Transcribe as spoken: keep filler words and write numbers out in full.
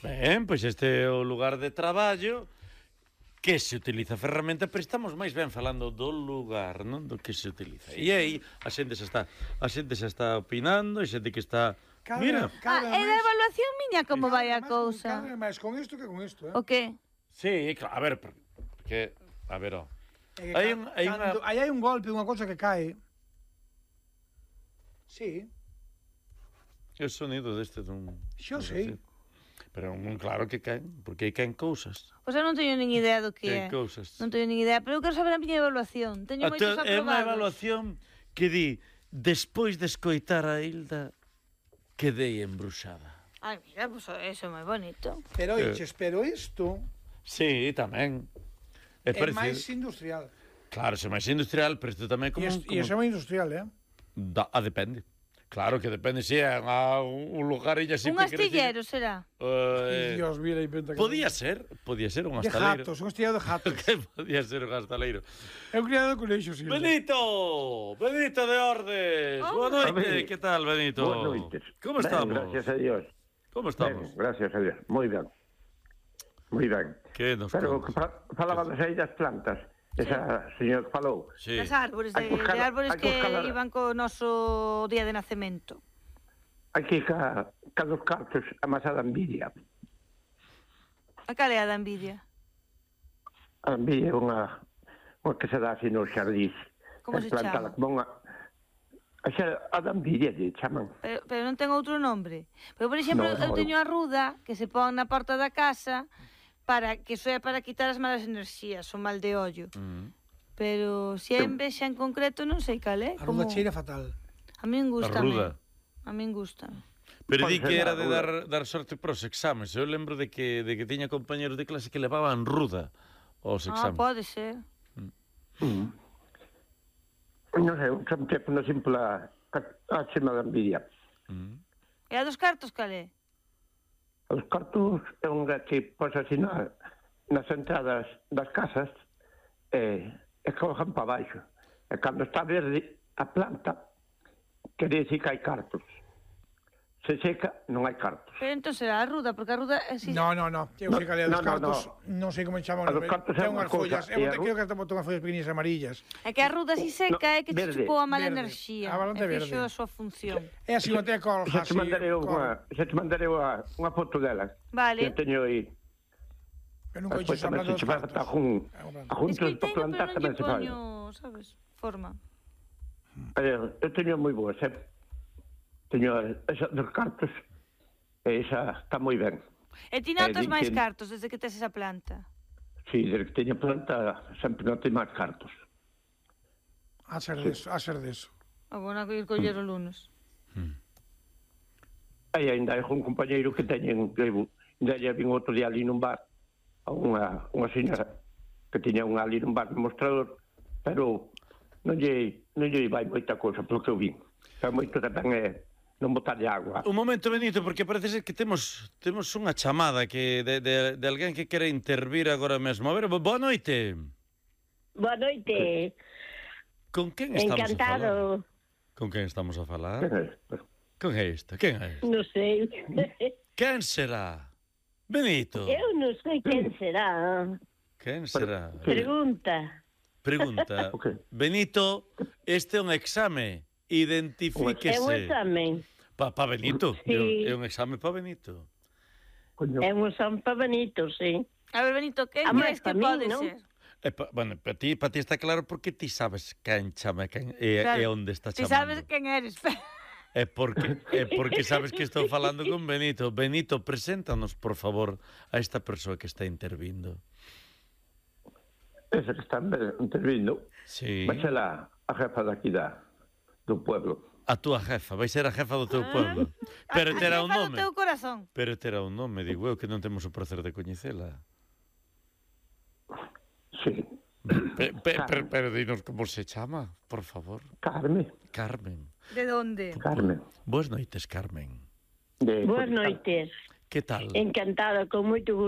Ben, pois este é o lugar de traballo que se utiliza a ferramenta, pero estamos máis ben falando do lugar, non do que se utiliza. E aí a xente xa está, a xente xa está opinando, a xente que está... Cada, Mira. cada Ah, é da evaluación miña como vai a cousa. Cada máis con isto que con isto, eh? O que? Sí, claro, a ver, porque a ver, ó. É que Hai ca- un hai unha cando- aí hai un golpe, unha cousa que cae. Sí, o sonido deste dun... Xo non sei. Pero non claro que caen, porque aí caen cousas. Pois eu non teño nin idea do que Caen é. cousas. Non teño nin idea, pero eu quero saber a miña evaluación. Teño A moitos te- é unha aprobados. evaluación que di, despois de escoitar a Hilda, quedei embruxada. Ai, mira, pois eso é moi bonito. Pero Eh. oiches, pero isto Sí, tamén. É é parecido. máis industrial. Claro, se máis industrial, pero isto tamén é como... E como... iso é máis industrial, eh? Da, ah, depende. Claro que depende, si é unha, un lugar illa así... Un astillero será. Eh, Dios, mira, inventa que... podía ser, podía ser un De astaleiro. gatos, un astillero de gatos. Que podía ser un astaleiro. É un criado de colexo, sí. Benito! Benito de Ordes! Oh. Boa noite, Hombre. que tal, Benito? Buenas noites. Como Ben, estamos? gracias a Dios. Como Ben, estamos? gracias a Dios. Moi ben. Moi ben. Que nos Pero contas? que fa, falaba das aí das plantas. Esa señor que falou. Sí. Das árbores, de, Hai que buscar- de árbores hai que que buscar- iban co noso día de nacemento. Aquí ca, ca dos cartos amasada envidia. A cal é a da envidia? A envidia é unha, unha que se dá así nos xardís. Como É se plantada chama? Como unha, a, xa, a da envidia, lle chaman. Pero, pero non ten outro nombre. Pero, por exemplo, No, no, eu teño a ruda que se pon na porta da casa para que soe para quitar as malas enerxías, o mal de ollo. Mm. Pero se é envexa en concreto non sei cal é. A Como... ruda cheira fatal. A min gusta. A ruda. A min gusta. Pero Pode di ser que era a de ruda. dar, dar sorte para os exames. Eu lembro de que, de que tiña compañeros de clase que levaban ruda aos Ah, exames. pode ser. Mm. Non sei, un tempo non simple a, a chema da envidia. Mm. E a dos cartos cal é? Os cartos é unha que pos así na, nas entradas das casas e, e cojan para baixo. E cando está verde a planta, quere dicir que hai cartos. Se seca, non hai cartos. Pero entón será a ruda, porque a ruda é si... No, no, no. Eu sei cal é a dos No, no, cartos. no. Non sei como chaman. A dos cartos é Ten unha unhas cousa, follas. e Eu a creo ru- que botou unhas follas pequeninas amarillas. É que a ruda si seca é que verde, te chupou a mala verde. enerxía. A balante E fixo verde. a súa función. É así, non ten colja, Xa te así. mandarei col. unha, xa te mandarei unha, unha foto dela. Vale. Que teño aí. Eu nunca Despois dixo tamén hablando se dos che vai cartos. botar jun, É unha planta. a juntos Es que para teño, plantar pero non tamén lle se fai. poño, sabes, forma. Eh, Eu teño moi boas, eh? Teño esa dos cartos e esa está moi ben. E ti notas Eh, di máis que- cartos desde que tes esa planta? Si, desde que teño planta sempre non teño máis cartos. A ser deso, a ser deso. O bueno, que ir coller o lunes. Aí ainda hai un compañeiro que teñen, que ainda lle vin outro día ali nun bar, a unha, unha señora que tiña unha ali nun bar no mostrador, pero non lle, non lle vai moita cousa, pelo que eu vin. Xa moito tamén é non botarlle agua. Un momento, Benito, porque parece ser que temos temos unha chamada que de, de, de alguén que quere intervir agora mesmo. A ver, bo- boa noite. Boa noite. Con quen estamos a falar? Encantado. Con quen estamos a falar? Eh, Con é esta? Quen é esta? Non sei. Quen será? Benito. Eu non sei quen será. Quen será? Pregunta. Pregunta. Ok. Benito, este é un exame. É un Identifíquese. examen. Pa, pa Benito. Sí. É un, é un exame pa Benito. Coño. É un examen para Benito, sí. A ver, Benito, quen A máis crees que pa min, pode non? ser? E pa, bueno, para ti, pa ti está claro porque ti sabes quen chama quen, e, Claro. e onde está Ti chamando. sabes quen eres. É porque, é porque sabes que estou falando con Benito. Benito, preséntanos, por favor, a esta persoa que está intervindo. Ese que está intervindo, Sí. vai ser a, a jefa daqui da, do pueblo. A túa jefa, vai ser a jefa do teu pueblo. Pero A terá un jefa do nome. teu corazón. Pero terá un nome, digo eu, que non temos o prazer de coñecela. Sí. Pe, pe, pero, pero dinos como se chama, por favor. Carmen. Carmen. De onde? Carmen. Boas noites, Carmen. De Boas noites. Que tal? Encantada, con moito gusto.